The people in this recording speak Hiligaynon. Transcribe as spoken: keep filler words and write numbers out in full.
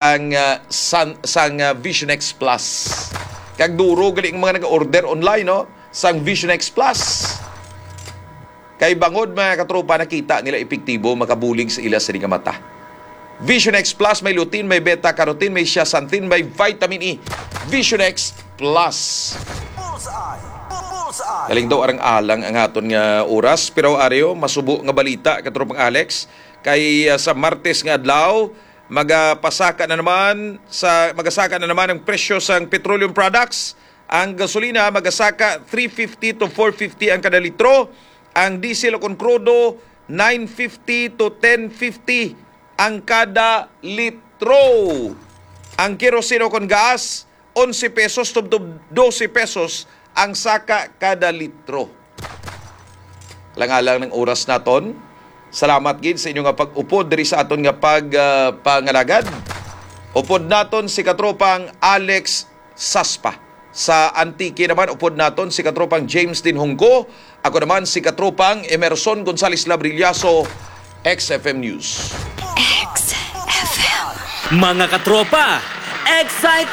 ang, ah, san-, sang, ah, Vision X Plus. Kag duro gali ang mga nag-order online, no? Sang Vision X Plus. Kay bangod, mga katropa, nakita nila epektibo, makabulig sa ila sini nga mata. Vision X Plus, may lutein, may beta carotene, may zeaxanthin, may vitamin E. Vision X Plus. Bullseye! Bullseye! Galing daw arang-alang ang aton nga oras, pero aryo, masubo nga balita, katropang Alex, kay, ah, sa Martes nga adlaw, magapasaka na naman sa, magasaka na naman ang presyo sang petroleum products. Ang gasolina magasaka three fifty to four fifty ang kada litro, ang diesel o kon krudo nine fifty to ten fifty ang kada litro. Ang kerosene o kon gas, onse pesos tubtob dose pesos ang saka kada litro. Langalang ng oras naton. Salamat gid sa inyo nga pag-upod diri sa aton nga pag, ah, pangalagad. Upod naton si katropang Alex Saspa. Sa Antique naman, upod naton si katropang James Dinhunggo. Ako naman si katropang Emerson Gonzales Labrillaso, X F M News. X F M. Mga katropa, excited!